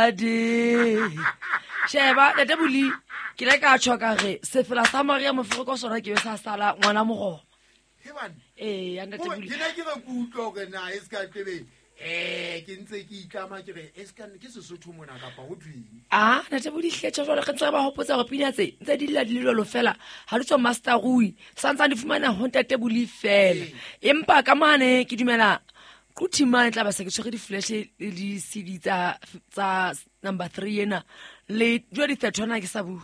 Ade. Sheba ntate Boli ke le ka tjho ka re sefela sa Maria Mofoko sona ke be sa sala ngwana mogoma. Ee, ya ntate Boli. Ke ne ke re ke utlwa hore na e se ka tlebe ke ntse ke itlama ke re e se ka ke Sesotho mona kapa ho thweng. Ah, ntate Boli hle tjho jwale re ntse re ba hopotsa hore pina tse ntse di lla di le jwalo fela ha di tswa Master Rui santsane di fumana ho ntate Boli fela. Empa ka mane ke dumela Quthing mane tla ba se ke tshwere di-flash le di-cd tsa number 3 ena le jwa di-thirtwana ke sa bua.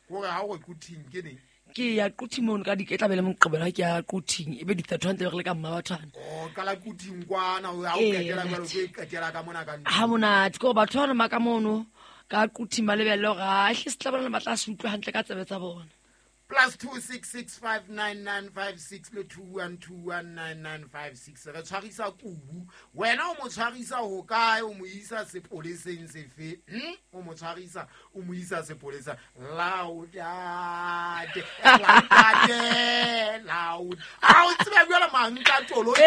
Gore ha o re Quthing ke neng? Ke ya Quthing mono ka di ke tla be le moqebelo ha ke ya Quthing e be di-thirtwana tse re le ka mma bathwana. Oh, qala Quthing kwana ha o qetela jwalo ke qetela ka mona ka ntlo. Ha monate ke gore batho bana ba ka mono ka Quthing ba lebelle hore ha hle se tla bona ba tla se utlwa hantle ka tsebe tsa bona. Plus 26659956 le 21219956 re tshwarisa kubu wena o mo tshwarisa ho kae o mo isa sepoleseng sefe o mo tshwarisa o mo isa sepolesa laudate laudate laud a o tseba jwale mankatolo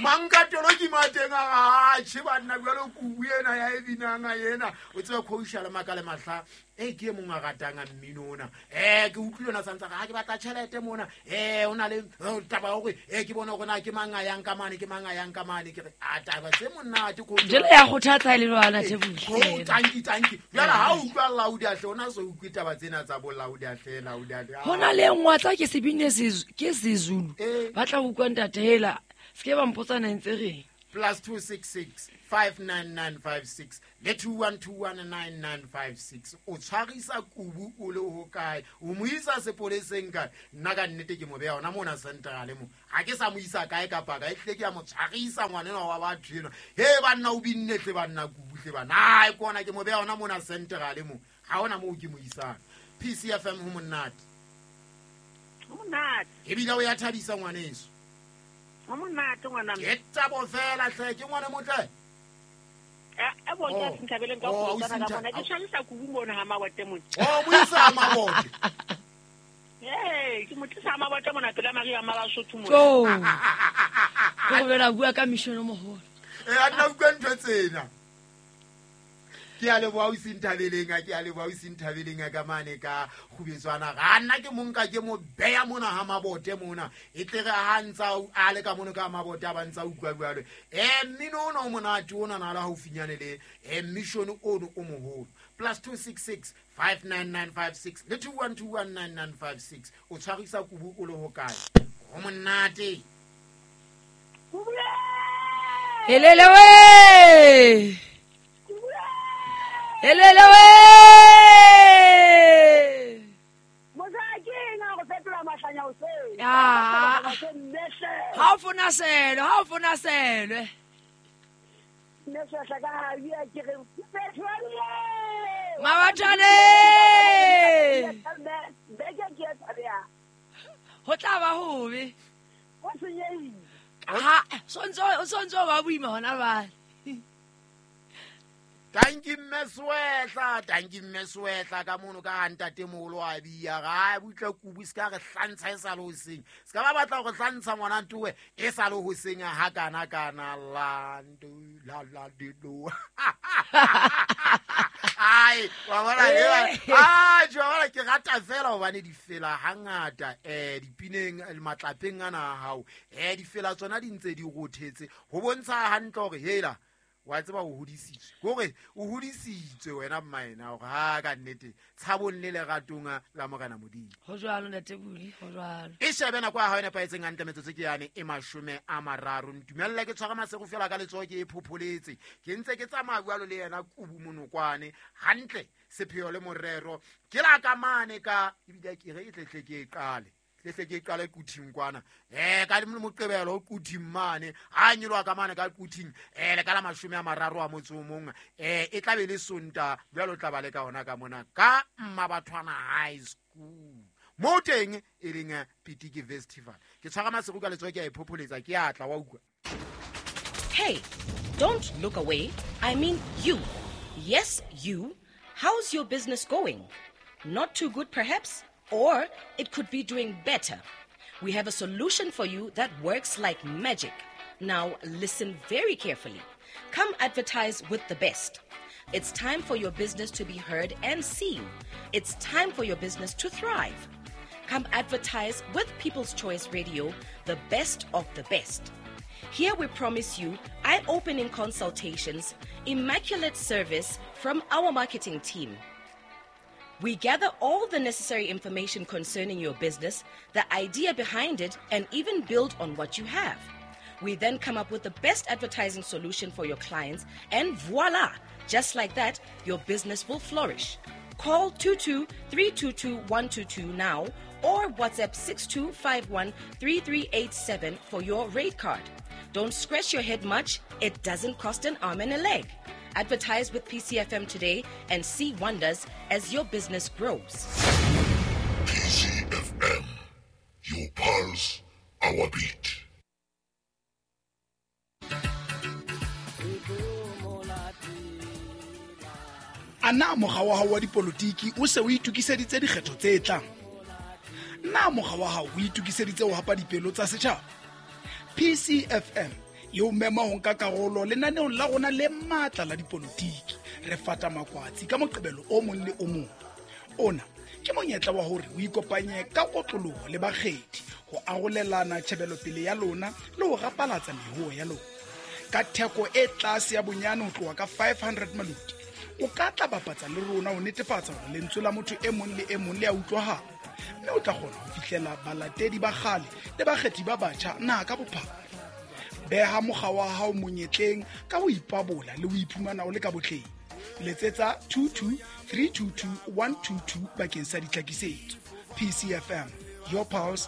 mankatolo ke mateng a atjhe banna jwale kubu ena ya e binang ena o tseba khousha le maka le mahla ke e mong a ratang a mmino ona ke utlwile ona santsa ga ke batla tjhelete mona o na le taba ya hore ke bone hore na ke mang a yang ka mane ke mang a yang ka mane ke re a taba tse monate ko jele ya kgothatsa e le lwana Thebuli tanki tanki jwale ha o utlwa laudi ahle ona so utlwe taba tsena tsa bo laudi ahle laudi ahle hona le nngwe tsa ke sebine ke Sezulu ba tla utlwa ntate hela se ke ba mpotsa na ntse reng plus 266 59956 le 21219956 o tshwarisa kubu o le ho kae o mo isa sepoleseng kae nna ka nnete ke mo beha hona mona central mo ha ke sa mo isa kae kapa kae tle ke ya mo tshwarisa ngwanenwa wa batho enwa he banna o binne tle banna kubu tle banna ai ke ona ke mo beha hona mona central mo ha hona moo ke mo isang. PCFM ho monate ho monate ebile o ya thabisa ngwaneso ho monate ngwana ke tabo fela hle ke ngwana motle e bo ke sinthabeleng ka go tsana ka bona ke tshwarisa kubu mona ha mabote mona o buisa mabote ke motlisa mabote mona pela Maria Mabasotho mona tjo ke go bela bua ka mission o moholo a nna utlwa ntho tsena ke a leboha o sinthabeleng ke a leboha o sinthabeleng ka mane ka kgubetswana ga nna ke monka ke mo beya mona ha mabote mona e tle re ha ntsa a le ka mono ka mabote a ba ntsa utlwa jwalo mmino ona o monate ona na le haufinyane le mission ono o moholo plus 266 59956 le 21219956 o tshwarisa kubu o le ho kae ho monate helele we helele we ha o fona selo ha o fona selwe mabathane ho tla ba hobe ha sontso ba boima hona bale. Tanki mme Swetla ka mono ka ntate moholo wa bia ga butle kubu se ka re hlantsha e sa le hoseng se ka ba batla go hlantsha ngwana ntowe e sa le hoseng ha kana kana la ndu la la di do ai wa bona a jwa ke rata fela hobane di fela hangata dipineng matlapeng ana hao di fela tsona di ntse di rothetse ho bontsha hantle hore hela wa tseba o hodisitswe hore o hodisitswe wena mmaena hore ha ka nnete tshabong le leratong la Morena Modimo ho jwalo ntate Buli ho jwalo e shebe nako ya hao e nepahetseng hantle metsotso ke yane e 30 ntumelle ke tshwara masego fela ka letsoho ke e phopholetse ke ntse ke tsamaya jwalo le yena kubu monokwane hantle sepheo le morero ke la ka mane ka ebile ke re e tletle ke e qale tle ke qale Quthing kwana ka moqebelo Quthing mane ha nyolwa ka mane ka Quthing le ka la 30 a motse o mong e tla be le Sonta jwalo tla ba le ka ona ka mona ka Mmabathwana High School mo teng e leng Pitiki Festival ke tshwara masego ka letsoho ke a e phopholetsa ke atla wa utlwa. Hey, don't look away. I mean you. Yes, you. How's your business going? Not too good perhaps? Or it could be doing better. We have a solution for you that works like magic. Now listen very carefully. Come advertise with the best. It's time for your business to be heard and seen. It's time for your business to thrive. Come advertise with People's Choice Radio, the best of the best. Here we promise you eye opening consultations, immaculate service from our marketing team. We gather all the necessary information concerning your business, the idea behind it, and even build on what you have. We then come up with the best advertising solution for your clients, and voila! Just like that, your business will flourish. Call 22 322 122 now or WhatsApp 6251 3387 for your rate card. Don't scratch your head much, it doesn't cost an arm and a leg. Advertise with PCFM today and see wonders as your business grows. PCFM, your pulse, our beat. A na mokga wa hao wa dipolotiki o se o itokiseditse dikgetho tse tlang? Na mokga wa hao o itokiseditse ho hapa dipelo tsa setjhaba? PCFM e o mema ho nka karolo lenaneong la rona le matla la dipolotiki. Re fata makwatsi ka Moqebelo o mong le o mong. Ona ke monyetla wa hore o ikopanye ka kotloloho le bakgethi ho arolelana tjhebelopele ya lona le ho rapalatsa mehoo ya lona. Ka theko e tlase ya bonyane ho tloha ka 500 maloti, o ka tla bapatsa le rona ho netefatsa hore lentswe la motho e mong le e mong le a utlwahala, mme o tla kgona ho fihlela balatedi ba kgale le bakgethi ba batjha naha ka bophara. Beha mokga wa hao monyetleng ka ho ipabola le ho iphumana o le ka botleng. Letsetsa 22 322 122 bakeng sa ditlhakisetso. PCFM, your pulse,